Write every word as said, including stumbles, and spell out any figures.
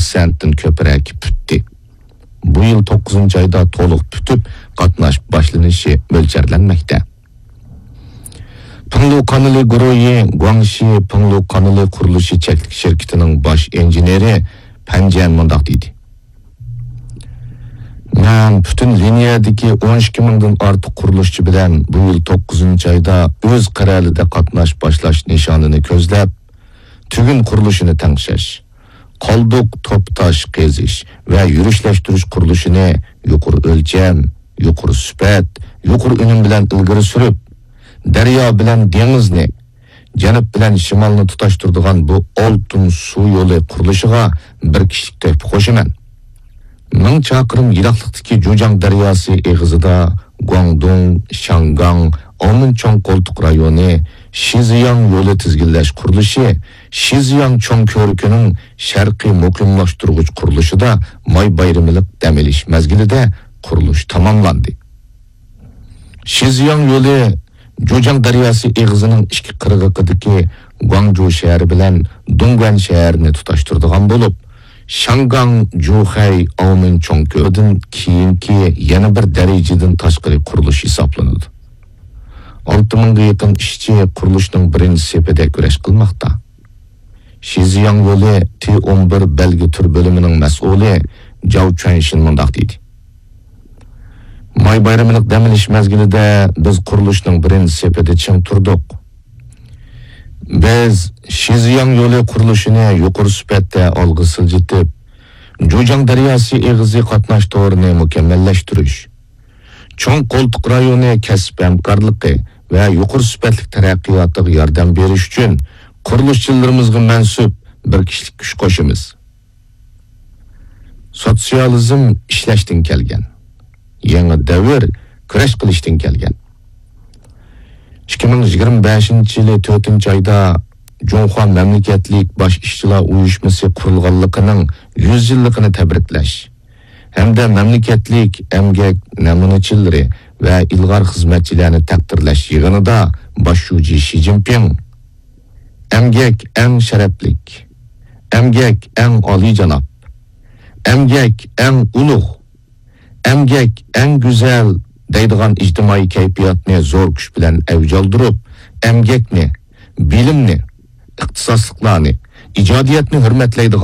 پىرسەنتتىن كۆپرەك پۈتتى. بۇ يىل توققۇزىنچى ئايدا تولۇق پۈتۈپ، قاتناش باشلىنىشى مۆلچەرلەنمەكتە. پىڭلۇ قانىلى گۇرۇھى گۇاڭشى پىڭلۇ قانىلى قۇرۇلۇشى چەكلىك شىركىتىنىڭ باش ئىنژېنېرى پەن جيەن مۇنداق دېدى: مەن پۈتۈن لىنىيەدىكى ئون ئىككى مىڭدىن ئارتۇق قۇرۇلۇشچى بىلەن بۇ يىل توققۇزىنچى ئايدا ئۆز قەرەلىدە قاتناش باشلاش نىشانىنى كۆزلەپ، تۈگۈن قۇرۇلۇشىنى تەڭشەش، قالدۇق توپا تاش قېزىش ۋە يۈرۈشلەشتۈرۈش قۇرۇلۇشىنى يۇقىرى ئۆلچەم، يۇقىرى سۈپەت، يۇقىرى ئۈنۈم بىلەن ئىلگىرى سۈرۈپ، دەريا بىلەن دېڭىزنى، جەنۇب بىلەن شىمالنى تۇتاشتۇرىدىغان بۇ ئالتۇن سۇ يولى قۇرۇلۇشىغا بىر كىشىلىك تۆھپە قوشىمەن. مىڭ چاقىرىم يىراقلىقتىكى جۇجياڭ دەرياسى ئېغىزىدا گۇاڭدۇڭ، شياڭگاڭ، ئاۋمېن چوڭ قولتۇق رايونى شىزياڭ يولى تىزگىنلەش قۇرۇلۇشى شىزياڭ چوڭ كۆۋرۈكىنىڭ شەرقىي مۇقىملاشتۇرغۇچ قۇرۇلۇشىدا ماي بايرىملىق دەم ئېلىش مەزگىلىدە قۇرۇلۇش تاماملاندى. شىزياڭ يولى جۇجياڭ دەرياسى ئېغىزىنىڭ ئىككى قىرغىقىدىكى گۇاڭجۇ شەھىرى بىلەن دۇڭگۇەن شەھىرىنى تۇتاشتۇرىدىغان بولۇپ، شياڭگاڭ جۇخەي ئاۋمېن چوڭ كۆلىدىن كېيىنكى يەنە بىر دەرىجىدىن تاشقىرى قۇرۇلۇش ھېسابلىنىدۇ. ئالتە مىڭغا يېقىن ئىشچى قۇرۇلۇشنىڭ بىرىنچى سېپىدە كۈرەش قىلماقتا. شىزياڭ يولى تى ئون بىر بەلگە تۈر بۆلۈمىنىڭ مەسئۇلى جاۋ چۈەنشىن مۇنداق دېدى: ماي بايرىملىق دەم ئېلىش مەزگىلىدە بىز قۇرۇلۇشنىڭ بىرىنچى سېپىدە چىڭ تۇردۇق. بىز شىزياڭ يولى قۇرۇلۇشىنى يۇقىرى سۈپەتتە ئالغا سىلجىتىپ، جۇجياڭ دەرياسى ئېغىزى قاتناش تورىنى مۇكەممەللەشتۈرۈش، چوڭ قولتۇق رايونى كەسىپ ھەمكارلىقى ۋە يۇقىرى سۈپەتلىك تەرەققىياتىغا ياردەم بېرىش ئۈچۈن قۇرۇلۇشچىلىرىمىزغا مەنسۇپ بىر كىشىلىك كۈچ قوشىمىز. سوتسىيالىزم ئىشلەشتىن كەلگەن. يېڭى دەۋر كۈرەش قىلىشتىن كەلگەن. ئىككى مىڭ يىگىرمە بەشىنچى يىلى تۆتىنچى ئايدا جۇڭخۇا مەملىكەتلىك باش ئىشچىلار ئۇيۇشمىسى قۇرۇلغانلىقىنىڭ يۈز يىللىقىنى تەبرىكلەش ھەمدە مەملىكەتلىك ئەمگەك نەمۇنىچىلىرى ۋە ئىلغار خىزمەتچىلەرنى تەقدىرلەش يىغىنىدا باش شۇجى شى جىنپىڭ: ئەمگەك ئەڭ شەرەپلىك، ئەمگەك ئەڭ ئالىيجاناب، ئەمگەك ئەڭ ئۇلۇغ، ئەمگەك ئەڭ گۈزەل دەيدىغان ئىجتىمائىي كەيپىياتنى زور كۈچ بىلەن ئەۋج ئالدۇرۇپ، ئەمگەكنى، بىلىمنى، ئىختىساسلىقلارنى، ئىجادىيەتنى ھۆرمەتلەيدىغان